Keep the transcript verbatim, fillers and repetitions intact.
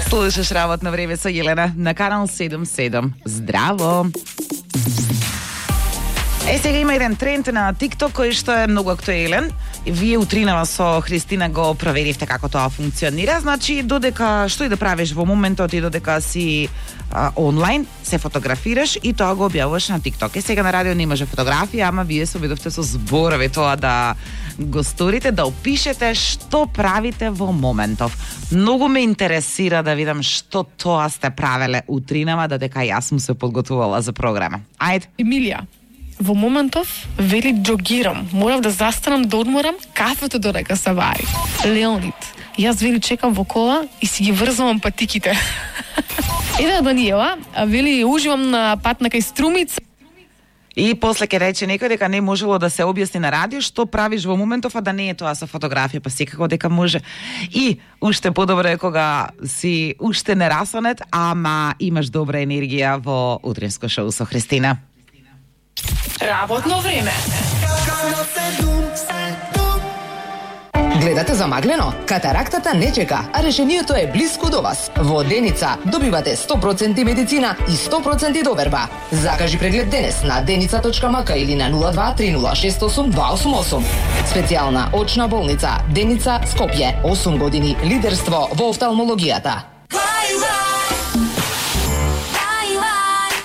Слушаш Работно време со Јелена на канал седум седум. Здраво! Е, сега има еден тренд на TikTok кој што е многу актуелен. Вие утринава со Христина го проверивте како тоа функционира. Значи, додека што и да правиш во моментот и додека си а, онлайн, се фотографираш и тоа го објавуваш на TikTok. Е, сега на радио немаше фотографија, ама вие се обидовте со зборови тоа да го сторите, да опишете што правите во моментов. Многу ме интересира да видам што тоа сте правеле утринава, додека јас сум се подготвувала за програма. Ајде. Емилија, во моментов вели джогирам, морав да застанам да одморам кафето додека се вари. Леонид, јас вели чекам во кола и си ги врзувам патиките. Ева Даниела, вели уживам на пат на кај Струмица. И после ќе рече некој дека не можело да се објасни на радио што правиш во моментов, а да не е тоа со фотографија, па секако дека може. И уште подобро е кога си уште нерасонет, ама имаш добра енергија во утринско шоу со Христина. Работно време. Гледате замаглено? Катарактата не чека, а решението е блиску до вас. Во Деница добивате сто проценти медицина и сто проценти доверба. Закажи преглед денес на деница точка ем ка или на нула два три нула шест осум два осум осум. Специјална очна болница Деница Скопје. осум години лидерство во офталмологијата.